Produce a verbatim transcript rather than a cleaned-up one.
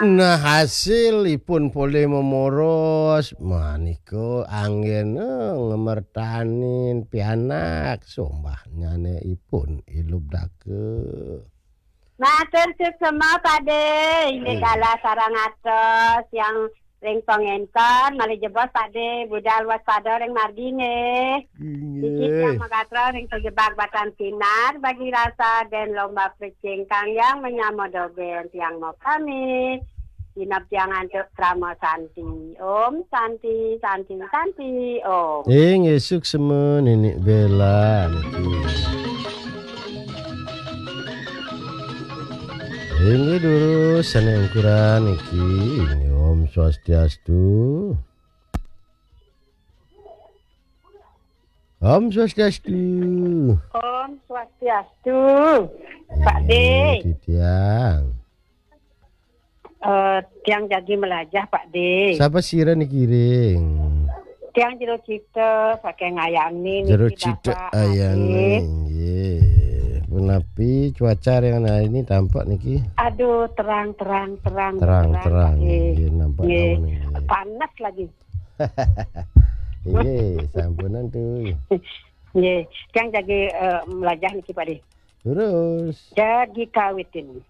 Nah, hasilipun polih momoros, manika anggena, eh, ngemertanin pianak, sombahnyane ipun ilub dake. Matur suksma, Pakde. Inggih, hmm, galah sareng atos yang ring pangenton, malih jebos, Pakde, budal waspada ring margi, nggih. Inggih. Siki tiang magatra ring pajebag batan sinar, bagi rasa den lomba pecing kang yang menyama dogen tiang mau pamit. Inap tiang antuk krama santi. Om santi, santi, santi, om. Inggih, suksma Nenek Bela niki. Inggih durus sane ungkuran niki. Inggih, Om Swastiastu. Om Swastiastu. Om Swastiastu. Pak, inggih, De. Titiang. Eh, tiang jagi melajah, Pak De. Sapa sira niki ring? Tiang Jero Cita, saking Ayani niki, Jero Cita Bapak Ayani, Ade. Nggih. Punapi cuaca ring Ayani tampak niki? Aduh, terang, terang, terang, terang, terang, Pak De. Nggih, nampak, nggih, awan, nggih. Panas lagi. Nggih, sampunan tuh. Nggih, tiang jagi, eh, melajah niki, Pak De. Terus? Jagi kawitin.